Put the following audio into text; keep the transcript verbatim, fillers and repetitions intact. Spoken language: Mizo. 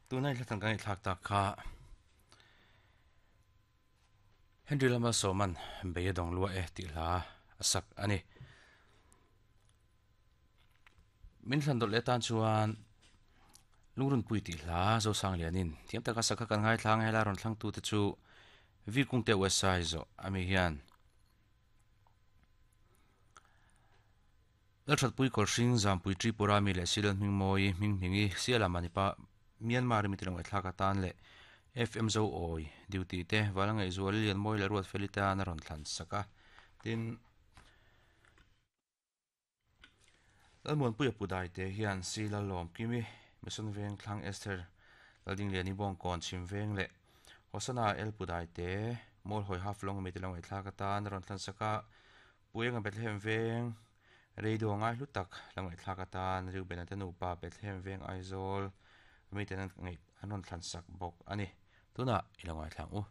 Tunai hlatang kan thlak tak kha Henry Lama Soman beyadong lua e ti hla asak ani. Min hlan dot le tan chuan lungrun pui ti hla zo sang lianin thiam taka sakha kan ngai thlang hela ron thlang tu te chu vi kung te wesai zo ami hian lalthat pui kol hring zam pui Tripura mi le silal hming moi hming hmingi siala manipa Myanmar mi tilong thlaka tan le F M zo oi duty te walangai zual lian moi la ruat felita na ron thlan saka tin lalmuan pui pudai te hian sila lom kimi mison veng thlang Esther lalding liani bong kon chim veng le hosana el pudai te mol hoi half long mi tilong thlaka tan ron thlan saka puenga Bethlehem veng radio ngai hlutak langai thlaka tan riu benate nu pa Bethlehem veng Aizawl mi ten ngai anon thlan sak bok ani tuna ilongai thlang u.